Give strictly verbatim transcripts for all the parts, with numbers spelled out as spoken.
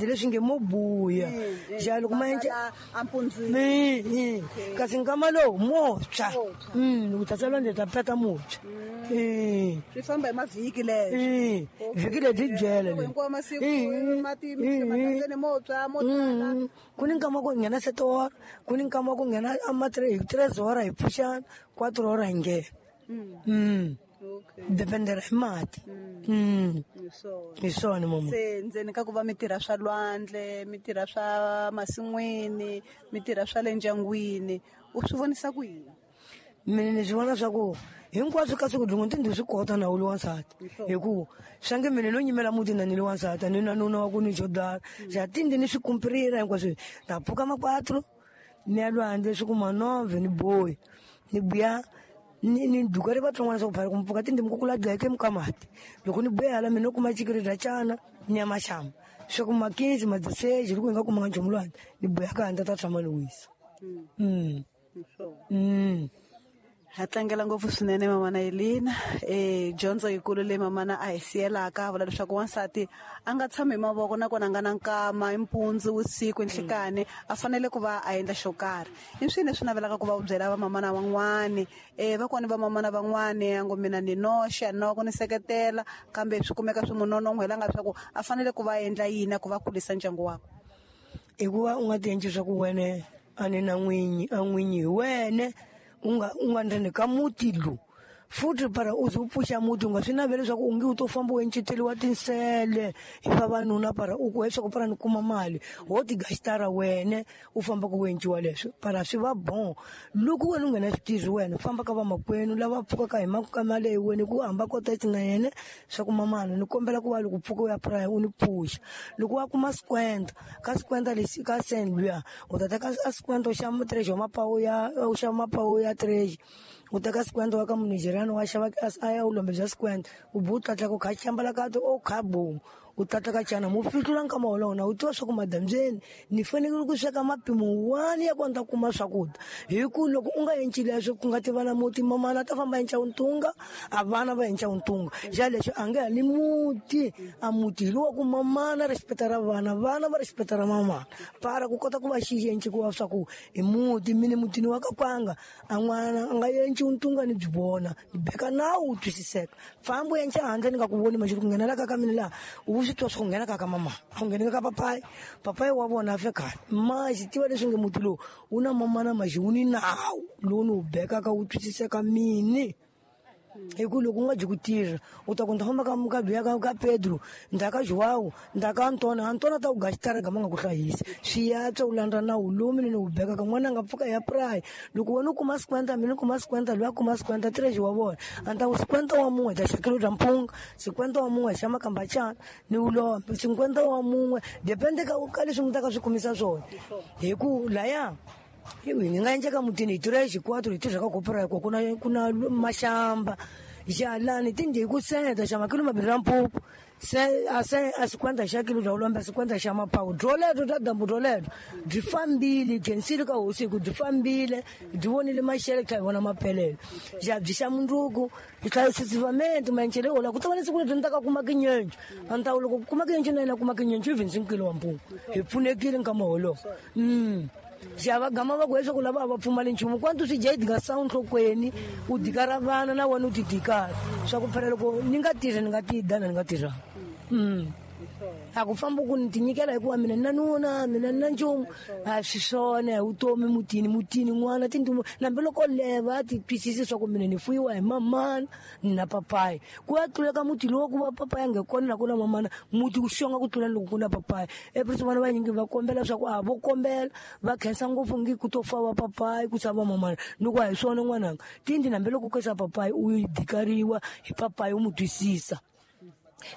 Leswi nge mo buya ja loko ma endla ampundzini kasi nkama lowu mo tshwa mm loko ta lwandle ta peta mo tshwa eh swi famba hi mavhiki leswi vhiki leti byele hinkwawo masiku mati matandeni mo tshwa mo tala ku ni nkama ku nghena sete hora ku ni nkama ku nghena ama tres hora hi pfuxana quatro hora hi nghena mm dependera hi mati mm hi swona mama se ndzeni ka ku va mi tirha swa lwandle mi tirha swa masin'wini mi tirha swa le ndyangwini u swi vonisa ku yini mina ni swi vona swa ku hinkwaswo ka siku dlungu ti ndzi swi kota na wu wansati hi ku swange mina no nyimela muti na ni li wansati ni na nuna wa ku ni xo dala xa tindi ni swi kumpirira hinkwaswo ta pfuka makwatro ni ya lwandle swi kuma nove ni boyi ni buya ni ni duka ri vatsongwana swa ku phara ku mpfuka tindi mukukula dleke mukamati loko ni buya hala mina kuma chikiri dya cana ni ya maxamba swa ku makinzi madziseji loko hi nga kumanga nchumu lwandle ni buya ka handle ta tshama ni wisa mm mm ha tlangela ngopfu swinene mamana Elina eh dyondzo yikulu leyi mamana a hi siyelaka a vula leswaku wansati a nga tshami hi mavoko nakona a nga na nkama hi mpundzu vusiku nhlikani a fanele ku va a endla xo karhi i swini leswi navelaka ku va u byela vamamana van'wani eh vakwani vamamana van'wani a ngo mina ni noxe a ni na wa ku ni seketela kambe swi kumeka swi n'wi nonon'hwela swa ku a fanele ku va a endla yini ku va kulisa ndyangu wakwe i ku va u nga ti endli swa ku wene a ni na n'winyi a n'winyi hi wene u nga u nga ndzeni ka muti lowu futhi para u ze u pfuxa muti u nga swi naveli leswaku u nge u to famba u enceteliwa tinsele hi vavanuna para u ku leswaku para ni kuma mali ho tigasitara wene u famba ku enciwa leswo para swi va bon loko wena u nghena switirhi wena famba ka vamakwenu lava pfukaka hi mali hi wena ku hamba kota na yena swa ku mamana ni kombela ku va loko pfuka u ya puraya u ni pfuxa loko wa kuma sikwenda ka sikwenda lexi ka sen luya u ta teka a sikwenda u xava treasure wa mapawu ya u xava mapawu ya treasure u teka sikwenda wa ka munigeriano wa xava a ya u lombe bya sikwenda u bu tlatla ku kha xambala ka o kha bomu u tlatla ka cana mu fihlula nkama wolowo na u tiva swa ku madambyeni ni fanekele ku sweka mapimo wani ya ku ni ta kuma swakudya hi ku loko u nga enci leswo ku nga tiva na muti mamana ta famba enca ntunga a vana va enca ntunga xa lexo a nge hali muti a muti hi lowa ku mamana respecta ra vana vana va respecta ra mamana para ku kota ku va xi enci ku va swa ku hi muti mini mutini wa ka kwanga a n'wana a nga enci ntunga ni byi vona ni beka nawu wu twisiseka fambi u enca handle ni nga ku voni maxi ku nghenela ka ka mina laha u swi twa swa ku nghena ka ka mama a ku ngheni ka papayi papayi wa vona a fe khale maxi tiva leswi nge muti lowu wu na mamana maxi wu ni nawu lowu ni wu bekaka wu twisiseka mini hi ku loko u nga dyi ku tirha u ta ku ni ta famba ka ka luya ka ka Pedro ni ta ka João ni ta ka Antona Antona ta ku gasitara gama nga ku hlayisi swi yatswa u landza nawu lowu mina ni wu bekaka n'wana a nga pfuka ya puraya loko wena u kuma sikwenda mina ni kuma sikwenda luya kuma sikwenda treasure wa vona a ni ta ku sikwenda wa mun'we hi ta xa kilo bya mpunga sikwenda wa mun'we hi xa makambachana ni wu lombe sikwenda wa mun'we depende ka ka leswi mi ta ka swi kumisa swona hi ku laya hi nga endleka mutini hi tirha xikwatro hi tirha ka kopora hikuva ku na ku na maxamba xalani tindi hi ku seta xa makilo mambirhi ra mpupu se a se a sikwenda xa kilo bya ulombe sikwenda xa mapawu dyoleto bya dambu dyoleto byi fambile khensile ka hosi hi ku byi fambile byi vonile maxele tlhela hi vona mapelelo xa byi xa mundzuku hi tlhela sisivamente maencele ola ku ta va ni siku lebyi ni ta ka kuma kinyencu a ni ta loko ku kuma kinyencu na yena kuma kinyencu even sinkilo wa mpungu hi pfunekile nkama wolowo mm xa va gama va ku leswaku lava a va pfumali nchumu kwantu swi dya yi dika sawu nhlokweni u dikara vana na wena u ti dikara swa ku phela loko ni nga tirhi ni nga ti dana ni nga tirhanga mm a ku famba ku ni ti nyikela hikuva mina ni na nuna mina ni na nchumu a swi swona hi vutomi mutini mutini n'wana tindumu nambi loko leva a ti twisisi swa ku mina ni fuyiwa hi mamana ni na papayi ku ya tluleka muti lowu ku va papayi a nge kona na ku na mamana muti wu xonga ku tlula loko ku na papayi eprisi vana vanyingi va kombela swa ku a vo kombela va khensa ngopfu ngi ku to fa va papayi ku sava mamana ni ku a hi swona n'wananga tindi nambi loko ku sa papayi u yi dikariwa hi papayi u mu twisisa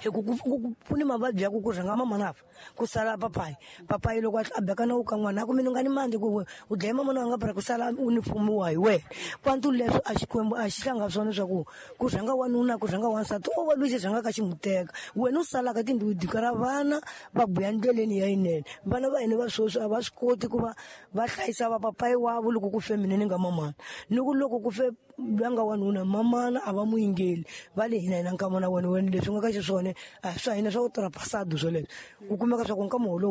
hi ku ku ni mavabyi ya ku ku rhanga mamana fa ku sala papayi papayi loko a beka na wu ka n'wana a ku mina u nga ni mandli ku u dlaye mamana wa nga para ku sala u ni fumiwa hi wena kwantu leswo a xikwembu a xi hlanga swona swa ku ku rhanga wanuna ku rhanga wansati o va lwisi rhanga ka ximuteka wena u salaka tindlu dika ra vana va buya ndleleni ya yinene vana va hina va sweswi a va swi koti ku va va hlayisa va papayi wavo loko ku fe mina ni nga mamana ni ku loko ku fe loyi a nga wanuna mamana a va mu yingeli va le hina hina nkama na wena wena leswi nga ka xiswona a swa hina swa ku tirha pasado swoleswo ku kumeka swa ku nkama wolowo.